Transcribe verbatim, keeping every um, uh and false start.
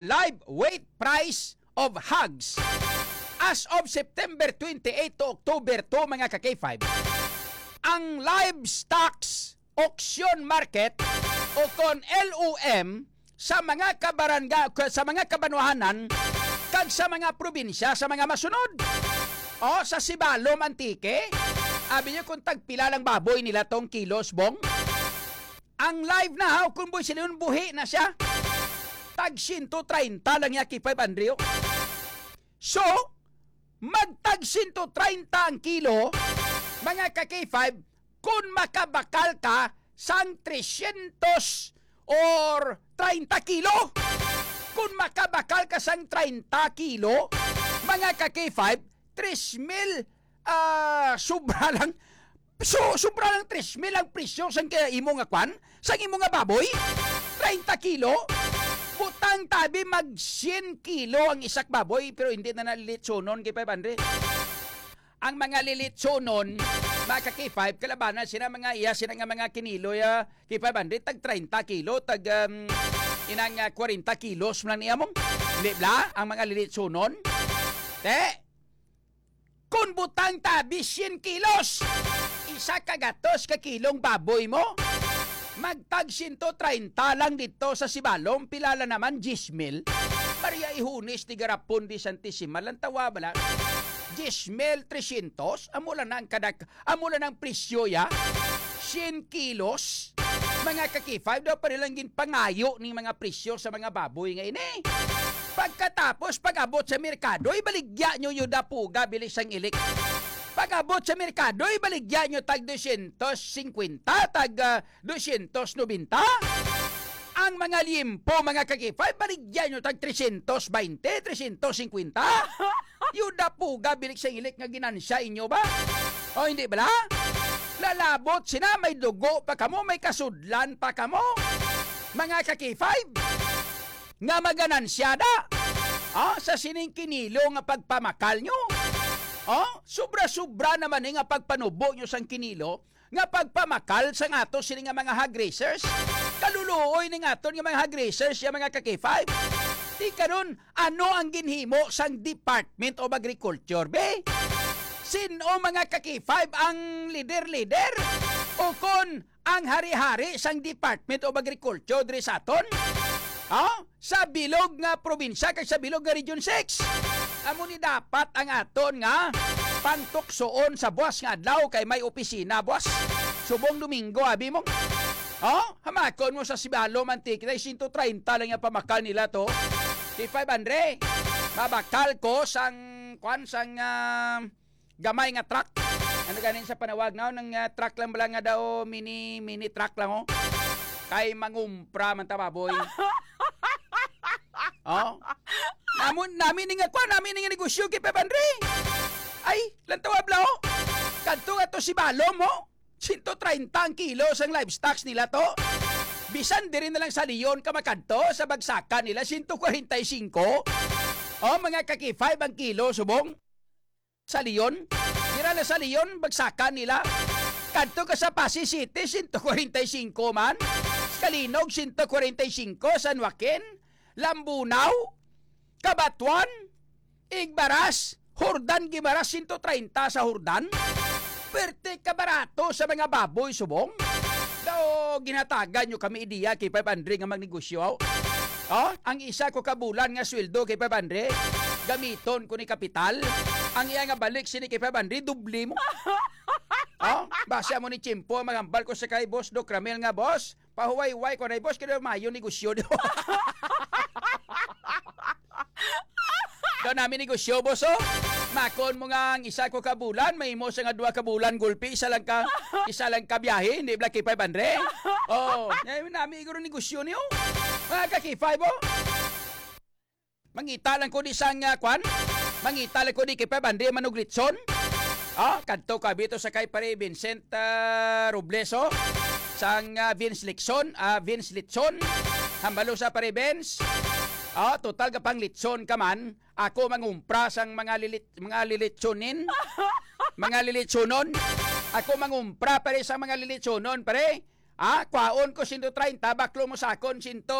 live weight price of hogs as of September twenty-eight to October two, mga ka-K five, ang livestock auction market o kon L O M sa mga kabarangay, sa mga kabanwahanan kag sa mga probinsya sa mga masunod. O, sa Sibalom, Antique, abi niyo kung tagpila lang baboy nila tong kilos, bong? Ang live na, ha, kung buhi sila yun, buhi na siya. Tag siyento treinta lang niya, K five Andrew. So, magtag siyento treinta ang kilo, mga ka-K five, kung makabakal ka sang trescientos or treinta kilo. Kung makabakal ka sang treinta kilo, mga ka-K five, tres mil, ah, sobra lang. So, sobra lang tres mil ang presyo sang kaya imo nga kwan, sang imo nga baboy. Treinta kilo. Butang tabi mag siyam kilo ang isak baboy, pero hindi na nalilitsonon kay five hundred. Ang mga lilitsonon, mga ka-K five, kalabanan sila mga iya, sila nga mga kiniloy, ah, K five hundred, tag treinta kilo, tag, um, inang, ah, kwarenta kilos man lang niya mong. Di ba? Ang mga lilitsonon. Te, kung butang tabi, siyam kilos, isa ka gatos ka kilong baboy mo, magtag siyento treinta lang dito sa Sibalom, pila lang naman, diyes mil. Maria Ihunis di Garapon di Santisimal, ang tawa bala, diyes mil trescientos, amo lang na ang kadak-, amo lang ang presyo ya, siyam kilos. Mga ka-K five, daw pa nilang ginpangayo ni mga presyo sa mga baboy nga ini. Pagkatapos, pag-abot sa merkado, ibaligya nyo yung dapuga, bilis ang ilik. Pag-abot sa merkado, ibaligya nyo tag dosyentos singkwenta, tag, ah, dosyentos nobenta. Ang mga liempo, mga ka-K five, baligya nyo tag tresyentos baynte, tresyentos singkwenta. Yuda puga, bilik sa ilik nga ginansya inyo ba? O hindi bala? Lalabot sina, may dugo pa kamo, may kasudlan pa kamo. Mga ka-K five, nga maganansya da, ah, sa sining kinilo nga pagpamakal nyo. Oh, sobra-sobra naman ni nga pagpanubo nyo sang kinilo nga pagpamakal sang ato sini nga mga hog raisers. Kaluluoy ning aton nga mga hog raisers, ya mga ka-K five. Di karon, ano ang ginhimo sang Department of Agriculture, be? Sin-o, mga ka-K five, ang leader-leader? O kon ang hari-hari sang Department of Agriculture diri sa aton? Ha? Sa bilog nga probinsya kag sa bilog nga Region six. Amo ni dapat ang aton nga pangtuksoon sa buas nga adlaw kay may opisina buas. Subong Domingo, abi mo. Oh, hamakon mo sa Sibalom, Antique, na siyento treinta lang yung pamakal nila to. K five hundred. Mabakal ko sang, kwan, sang, ah, gamay nga truck. Ano ganin sa panawag na, nang, ah, truck lang bala nga daw, mini, mini truck lang, oh. Kay mangumpra man ta, baboy. Oh. Namun, nami ni nga kwan, nami ni nga negosyo kay Pep Andre. Ay, lantawa bla, oh. Kadto nga to Sibalom, oh. Siyento treinta ang kilo sang livestock nila to. Bisan diri na lang sa Leon ka makadto, sa bagsakan nila, siyento kwarenta y singko. Oh, mga ka-K five ang kilo, subong. Sa Leon? Dira na sa Leon, bagsakan nila. Kadto ka sa Passi City, siyento kwarenta y singko man. Calinog, siyento kwarenta y singko. San Joaquin, Lambunao, Cabatuan, Igbaras, Jordan, Guimaras, siyento treinta sa Jordan. Perte ka barato sa mga baboy, subong. Daw, ginhatagan nyo kami ideya kay Pep Andre nga magnegosyo. Oh, ang isa ko ka bulan nga sweldo kay Pep Andre, gamiton ko ni kapital. Ang iya nga balik sini kay Pep Andre, doble mo. Oh, basi amo ni tiyempo ang magambal ko sa kay Boss Doc Ramel nga, "Boss, pahuway-huway ko na, boss, kaya mayo negosyo do." Do nami negosyo, boss, oh. Makon mo nga ang isa ko ka bulan, may mo sa nga duha ka bulan, gulpi, isa lang ka, isa lang ka biyahe, hindi bala kay five hundred. Oh, nami, nami, iguro negosyo niyo. Mga ka-K five, oh. Mangita lang ko di sang, ah, kwan? Mangita lang ko di kay Pep Andre Manuglitson. Ah, kadto ka bito sa kay Pare Vincent, ah, Robles, oh. Sang, ah, Vince Lixon, ah, Vince Litson. Hambalo sa Pare Vince. Ah, total ka pang litson ka man. Ako mangumpra sang mga lilit-, mga lilitsonin. Mga lilitsonon. Ako mangumpra, pare, sa mga lilitsonon, pare. Ah, kwaon ko siyento treinta, baklo mo sa akon siyento,